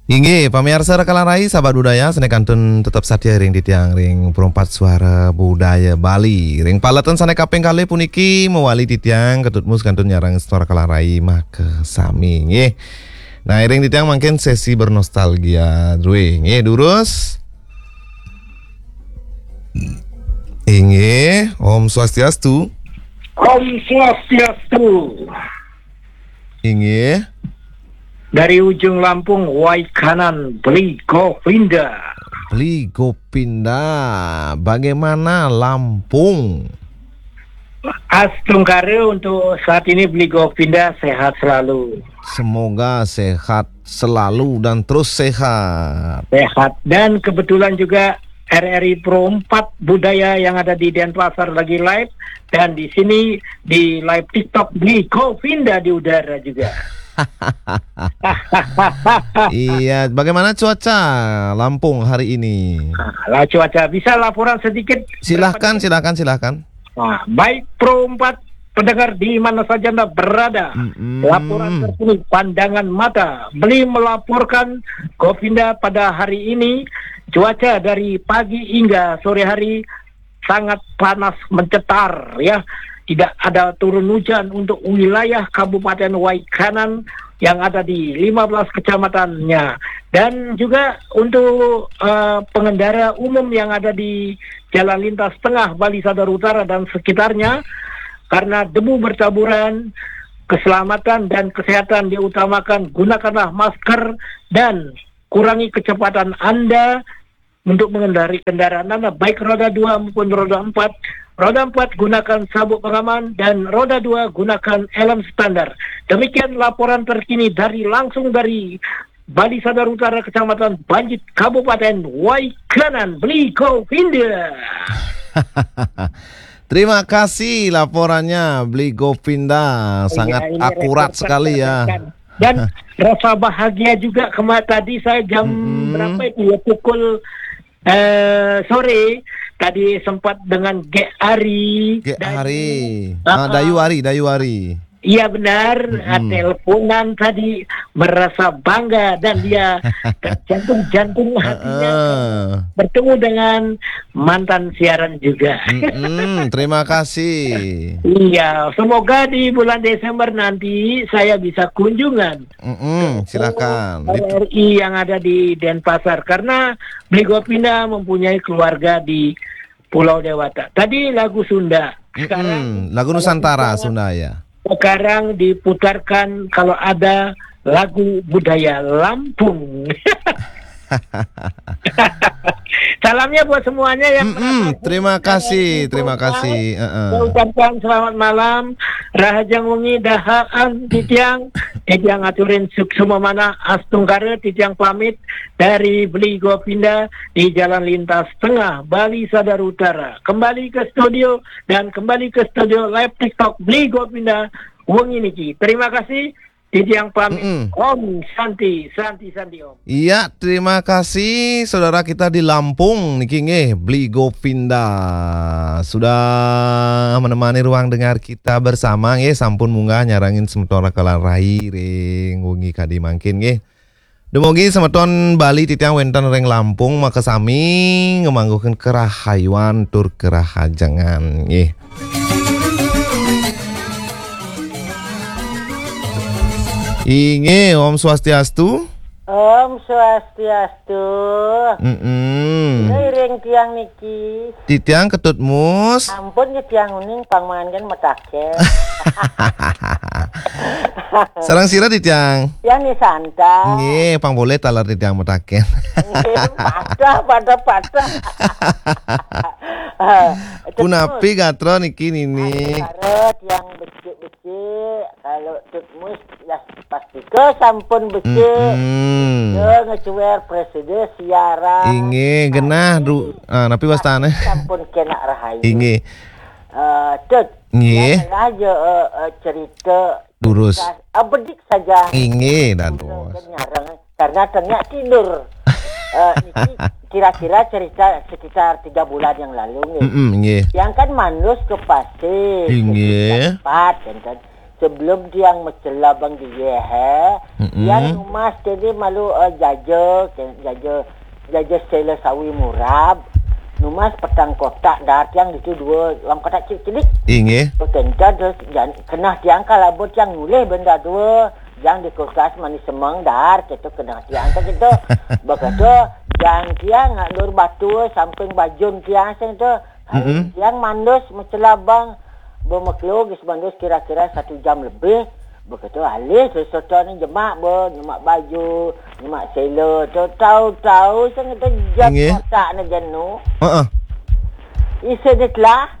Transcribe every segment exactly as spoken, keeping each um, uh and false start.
Inggih, pamiarsa Rekalan Rai, sahabat budaya, sané kantun tetep satia ring titiang ring Perempat Suara Budaya Bali. Ring paletan sané kaping kalih puniki mawali titiang Ketut Mus kantun nyarengin semeton Rekalan Rai makasami, nggih. Nah, iring titiang mangkin sesi bernostalgia drué, nggih, durus. Inggih, Om Swastiastu. Om Swastiastu. Inggih. Dari ujung Lampung, Waikanan, Beli Govinda. Beli Gopinda, bagaimana Lampung? Astungkara untuk saat ini, Beli Govinda sehat selalu. Semoga sehat selalu dan terus sehat. Sehat. Dan kebetulan juga R R I Pro empat Budaya yang ada di Denpasar lagi live. Dan di sini di live TikTok Beli Govinda di udara juga. Iya, bagaimana cuaca Lampung hari ini? Nah, lah cuaca, bisa laporan sedikit? Silahkan, silahkan, silahkan. Nah, baik Pro empat, pendengar di mana saja Anda berada. Mm-mm. Laporan terkini, pandangan mata. Beli melaporkan, Govinda, pada hari ini cuaca dari pagi hingga sore hari sangat panas mencetar, ya. Tidak ada turun hujan untuk wilayah Kabupaten Waikanan yang ada di lima belas kecamatannya. Dan juga untuk eh, pengendara umum yang ada di Jalan Lintas Tengah Bali Sadar Utara dan sekitarnya, karena debu bertaburan, keselamatan dan kesehatan diutamakan, gunakanlah masker dan kurangi kecepatan Anda untuk mengendarai kendaraan Anda, baik roda dua maupun roda empat. Roda empat gunakan sabuk pengaman dan roda dua gunakan helm standar. Demikian laporan terkini dari, langsung dari Bali Sadar Utara, Kecamatan Banjit, Kabupaten Waikanan, Beli Govinda. Terima kasih laporannya, Beli Govinda. Iya, sangat ini akurat sekali ya. Dan rasa bahagia juga, kema-, tadi saya jam Mm-mm. berapa itu ya, pukul eh, sore tadi sempat dengan Gek Ari. Gek Ari. Ah, ah. Dayu Ari, Dayu Ari. Iya benar, mm-mm. Ah, teleponan tadi, merasa bangga dan dia jantung-jantung hatinya uh-uh. bertemu dengan mantan siaran juga. Mm-mm, terima kasih. Iya, semoga di bulan Desember nanti saya bisa kunjungan. Mm-mm, silakan. R R I yang ada di Denpasar, karena Beli Gopinda mempunyai keluarga di Pulau Dewata. Tadi lagu Sunda. Sekarang mm-mm, lagu Nusantara Sunda ya. Sekarang diputarkan kalau ada lagu budaya Lampung. Salamnya buat semuanya yang mm-mm, terima kasih, terima kasih. Uh-uh. Saya ucapkan selamat malam, rahajeng wengi, dahaan titiang, titiang aturin suksma manah, astungkara titiang pamit dari Beli Gopinda di Jalan Lintas Tengah, Bali Sadar Utara. Kembali ke studio dan kembali ke studio live TikTok Beli Gopinda wengi niki. Terima kasih. Titiang pamit. Mm-mm. Om Santi, Santi, Santi Om. Iya, terima kasih saudara kita di Lampung niki nggih, Beli Gopinda sudah menemani ruang dengar kita bersama nggih, sampun munggah nyarengin semeton Rekalan Rai ring wengi kadi mangkin nggih. Dumugi semeton Bali titiang wénten ring Lampung makasami ngamangguhken karahayuan tur karahajengan nggih. Inggih, Om Swastiastu. Om Swastiastu. Mm-mm. Iring tiang niki. Titiang Ketut Mus. Ampun, nggih tiang uning pangmangan mataken. Sareng sira titiang? Tiang Ni Santa. Nggih, pang polih taler titiang mataken. Nggih, patah, patah, patah. Punapi gatra niki nini? Gatra tiang becik-becik, kalau Tut Mus ya pastika sampun becik. Mm-mm. Becik ngecuér presida siaran. Inggih, genah, Du. Ah, napi wastane? Sampun kenak rahayu. Inggih. Eh, Tut. Nggih. Ya, aja eh, eh, cerita. Durus. Ah, bedik saja. Inggih, dados. Nyareng. Karena ternyata tidur. Eh, niki kira-kira cerita sekitar tiga bulan yang lalu nggih. Mm-mm, nggih. Yang kan manus ke pasir, inggih. Sekitar empat, kan, kan. Sebelum tiang macela bang dia, he, tiang numas tadi malu, eh, jaja, ke-, jaja, jaja sela sawi murab, numas petang kotak dar tiang ditu dua, lam kotak cilik-cilik. Inggih. Bekenca terus jan-, kenah tiang kalabo tiang nyulih benda dua, yang di kulkas manis semeng dar, gitu kenah tiang ke gitu. Begitu, jang tiang ngandur batu samping bajun tiang sing tu. Hari tiang mandus macela bang, bemaklo gis mandus kira-kira satu jam lebih. Begitu alih sesoto ni jemak be, nyemak baju, nyemak sela tu, tahu-tahu sing tu jam Inggih. Kotak ni jenu. Heeh. Isi dia telah.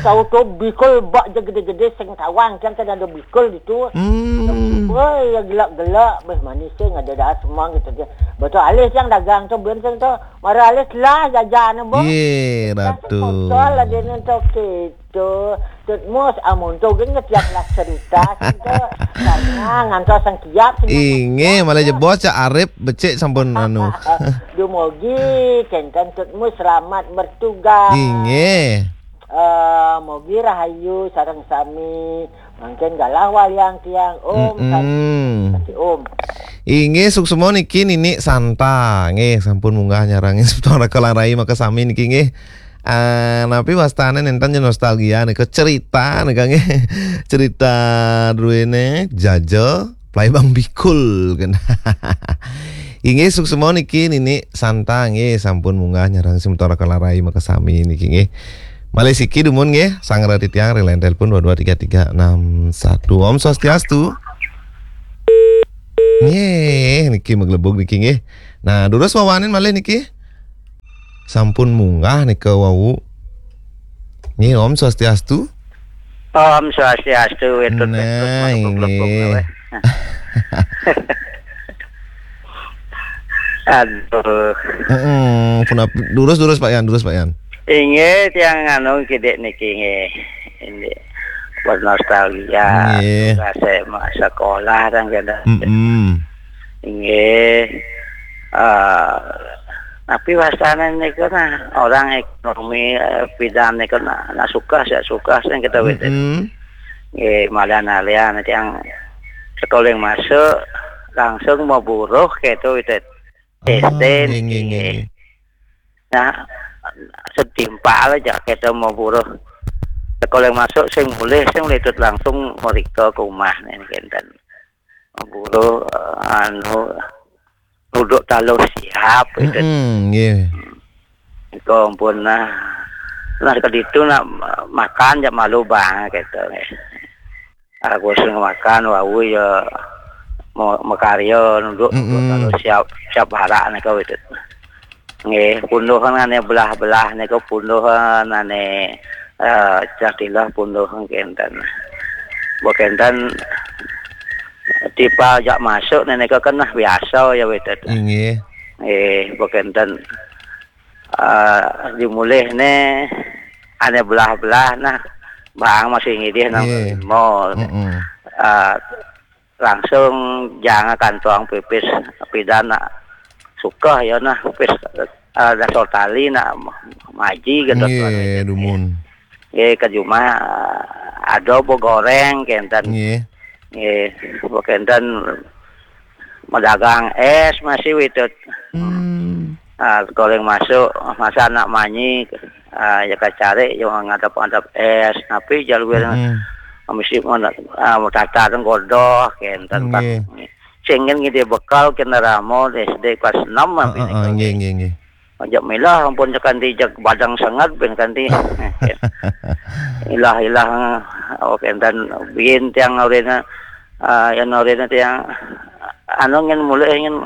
Tahu tu bikul bak je gede-gede sing tawang kan kan ada bikul itu. Hmm. Woi, ya gelak-gelak beh manis sing ada dah semua gitu dia. Betul alih yang dagang tu ben sing tu. Mara alih telah jajan ni boh. Ye, Ratu. Kotor lah dia ni tu gitu. Tut mus amun tu geng tiap lah cerita sing tu. Karena ngantos sang kiap sing Inggih, malah jebos Cak Arif becik sampun anu. Dumugi kenten tut mus selamat bertugas. Inggih. Eh, mugi rahayu sareng sami. Mangkin galah wayang tiang. Om, Mm-mm. Santi Om. Inggih, suksma niki Nini Santa. Nggih, sampun munggah nyarengin semeton Raka Larai makasami niki nggih. Ah, napi wastane nenten ya nostalgia nika cerita nika nggih. Cerita druene jaja Plai Bang Bikul kan. Inggih suksma niki Nini Santa nggih sampun munggah nyarengin semeton Raka Larai makasami niki nggih. Malih siki dumun nggih, sangra titiang ring line telepon dua dua tiga tiga enam satu. Om Swastiastu. Nggih, niki maglebug niki nggih. Nah, durus wawanin malih niki. Sampun munggah nika wau. Nggih, Om Swastiastu. Om Swastiastu, wetut, wetut, Nah, mangga inggih. Aduh. Heeh, punapi, durus, durus, Pak Yan, durus, Pak Yan. Inggih, tiang anu kidik niki nggih. Ini bernostalgia. Nggih. Tugas saya ma-, sekolah dan kena. Mm-mm. Inggih. Ah, tapi wastane niku nah, orang ekonomi, eh, bidan niku nah, nah suka, saya suka, saya kita wetut. Mm-mm. Nggih, malian-malian tiang sekolah masuk, langsung mau buruh gitu, wetut. Ah, S T nggih, nggih, nggih, nggih. Nah, setimpal aja kita mau buruh. Sekolah masuk sing mulih, sing mulih itu langsung mereka ke rumah nih, kenten. Buruh, eh, anu, duduk taluh siap, gitu. Mm-mm, nggih. Itu ampun, nah. Nah, ke ditu nak makan, jak malu bang, gitu. Aku sing makan, wau ya mau makarya, nunduk, nunduk, Mm-mm. Taluh siap, siap barak nika, wetut. Nggih, punduhan ane belah-belah nika punduhan ane, eh, cah tilah punduhan kenten. Mbok kenten tipe jak masuk nika keneh biasa ya, wetut. Inggih. Nggih, mbok kenten, eh, dimulih ne ane belah-belah nah, bang masih ngidih nang Nggih. Lima. Mm-mm. Eh, langsung jangan kantong pipis pidan nak suka ya nah pipis, eh, dasar tali nak maji gitu. Nggih, dumun. Nggih, ke jumah, eh, ada begoreng kenten. Nggih. Nggih, kenten medagang es masih wetut. Hmm. Ah, goreng masuk, masa anak manyi, ah, ya kacari, ya ngadap-ngadap es, tapi jalur Mm-mm. mesti mana, ah, mau tata dan godoh, kenten Pak. Nggih. Sing ngidih bekal kena ramo S D kelas enam. Heeh, nggih, nggih, nggih. Ajak milah ampun kanti jak badang sangat ben kanti. Ilah, ilah, oh, kenten bin tiang orena, ah, yang orena tiang, anu, ngin mulih, ngin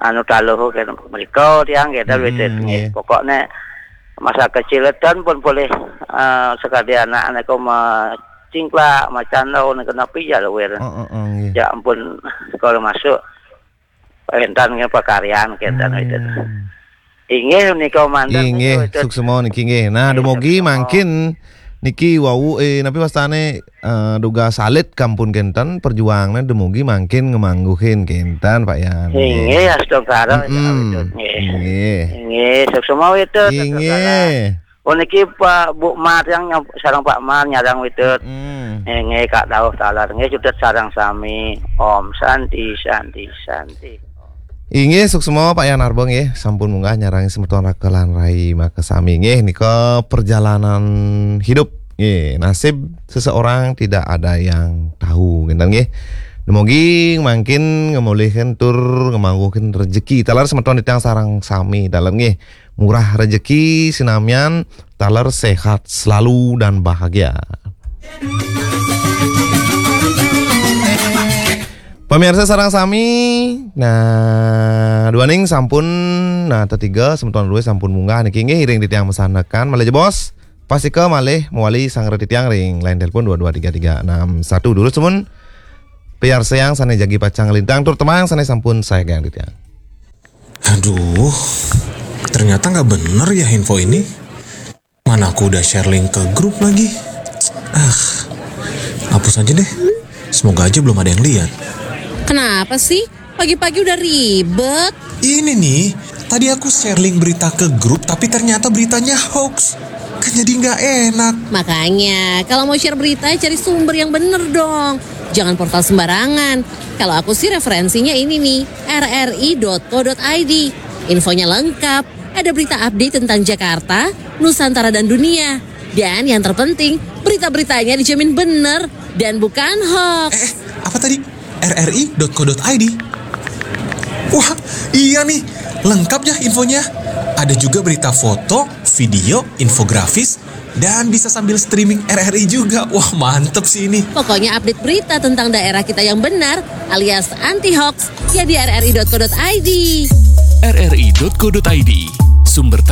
anu taluh kan mereka tiang kita. Mm-mm, wetut nggih. Nggih. Pokoknya masa kecil tan pun boleh, ah, sekali anak-anak kau ma cingklak, macan tau nih kena pijal wer. Heeh, heeh, nggih. Ya ampun, kalau masuk entan nggih pakaryan kenten. Hmm. Wetut. Inggih nika manten. Inggih, wetut. Suksma niki nggih. Nah, nggih, dumugi suksma. Mangkin niki wau, eh, napi wastane, eh, dugas alit kampun kenten perjuangan dumugi mangkin ngamangguhin kenten Pak Yan. Inggih, astungkara. Mm-mm. Ya, wetut, nggih. Inggih. Inggih, suksma wetut, astungkara. Inggih. Oh, niki Pak Bu Mar yang nyam-, sareng Pak Mar nyarang witet. Hmm. Eh, nggih, Kak Dauh taler. Nggih, cutet sareng sami. Om Santi, Santi, Santi. Inggih, suksma Pak Yan Arba nggih, sampun munggah nyarang semeton raka lan rai makasami nggih, nika perjalanan hidup nggih, nasib seseorang tidak ada yang tahu ngenten nggih. Dumogi mangkin ngemulihkan tur ngemangguhkan rezeki taler semeton titiang sareng sami taler nggih. Murah rezeki sinamian taler sehat selalu dan bahagia. Pemirsa sareng sami, nah duaning sampun, nah tetiga semeton dua sampun munggah niki nggih iring titiang mesanekan malih jebos. Pastika malih mewali sanggra titiang ring line telepon dua dua tiga tiga enam satu dulu semun. Piarsayang sane jagi pacang lintang tur temang sane sampun saegang titiang. Aduh, ternyata nggak bener ya info ini. Mana aku udah share link ke grup lagi. Ah, hapus aja deh. Semoga aja belum ada yang lihat. Kenapa sih? Pagi-pagi udah ribet. Ini nih, tadi aku share link berita ke grup tapi ternyata beritanya hoax. Kan jadi nggak enak. Makanya, kalau mau share berita, cari sumber yang bener dong. Jangan portal sembarangan. Kalau aku sih referensinya ini nih, rri.co.id. Infonya lengkap. Ada berita update tentang Jakarta, Nusantara dan dunia. Dan yang terpenting, berita-beritanya dijamin bener dan bukan hoax. Eh, apa tadi? rri.co.id. Wah, iya nih. Lengkap ya infonya. Ada juga berita foto, video, infografis, dan bisa sambil streaming RRI juga. Wah, mantep sih ini. Pokoknya update berita tentang daerah kita yang benar alias anti hoax ya di rri.co.id. rri.co.id. Sumber